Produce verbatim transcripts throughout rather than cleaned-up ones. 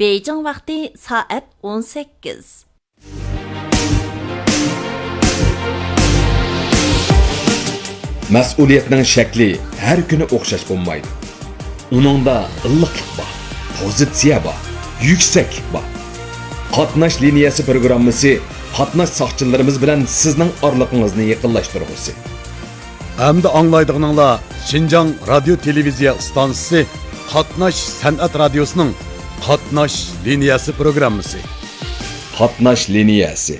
بېيجىڭ ۋاقتى سائەت ئون سەككىز. مەسئۇلىيەتنىڭ شەكلى ھەر كۈنى ئوخشاش بولمايدۇ. ئۇنىڭدا ئىللىقلىق بار، پوزىتسىيە بار، يۈكسەكلىك بار. قاتناش لىنىيەسى پروگراممىسى قاتناش ساقچىلىرىمىز بىلەن سىزنىڭ ئارىلىقىڭىزنى يېقىنلاشتۇرغۇسى. ئەمدى ئاڭلايدىغىنىڭلار شىنجاڭ رادىيو تېلېۋىزىيە ئىستانسىسى قاتناش سەنئەت رادىيوسىنىڭ قاتناش لىنىيەسى پروگراممىسى. قاتناش لىنىيەسى.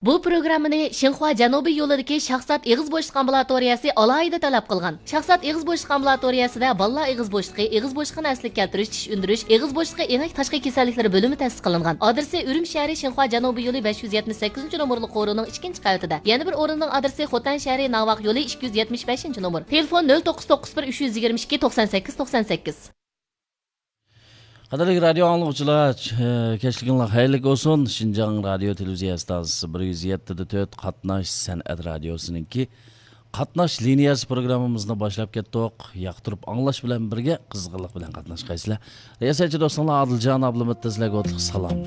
بۇ پروگراممىنى شىنخۇا جەنۇبىي يولىدىكى شاھزات ئېغىز بوشلۇق ئامبۇلاتورىيەسى ئالاھىدە تەلەپ قىلغان. شاھزات ئېغىز بوشلۇق ئامبۇلاتورىيەسىدە بالىلار ئېغىز بوشلۇقى، ئېغىز بوشلۇقىنى ئەسلىگە كەلتۈرۈش، چىش ئۈندۈرۈش، ئېغىز بوشلۇقى ئېڭەك تاشقى كېسەللىكلىرى بۆلۈمى تەسىس قىلىنغان. ئادرېسى ئۈرۈمچى شەھىرى شىنخۇا جەنۇبىي يولى بەش يۈز يەتمىش سەككىزىنچى نومۇرلۇق قورۇنىڭ ئىككىنچى قەۋىتىدە. يەنە بىر ئورۇننىڭ ئادرېسى خوتەن شەھىرى ناۋاق يولى ئىككى يۈز يەتمىش بەشىنچى نومۇر. تېلېفون نۆل توققۇز توققۇز بىر ئۈچ يۈز يىگىرمە ئىككى توقسان سەككىز توقسان سەككىز. قەدىرلىك رادىيو ئاڭلىغۇچىلار، چ-، كەچلىكىڭلار خەيرلىك بولسۇن. شىنجاڭ رادىيو تېلېۋىزىيە ئىستانسىسى بىر يۈز يەتتە دە تۆت قاتناش سەنئەت رادىيوسىنىڭكى قاتناش لىنىيەسى پروگراممىمىزنى باشلاپ كەتتۇق. ياقتۇرۇپ ئاڭلاش بىلەن بىرگە قىزغىنلىق بىلەن قاتناشقايسىلەر. رىياسەتچى دوستۇڭلار ئادىلجان ئابلىمىت تەزلەرگە ئوتلۇق سالام.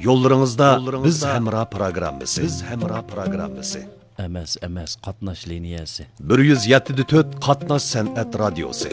يوللىرىڭىزدا بىز ھەمراھ پروگراممىسى. بىز ھەمراھ پروگراممىسى. ئەمەس، ئەمەس، قاتناش لىنىيەسى. بىر يۈز يەتتە دە تۆت قاتناش سەنئەت رادىيوسى.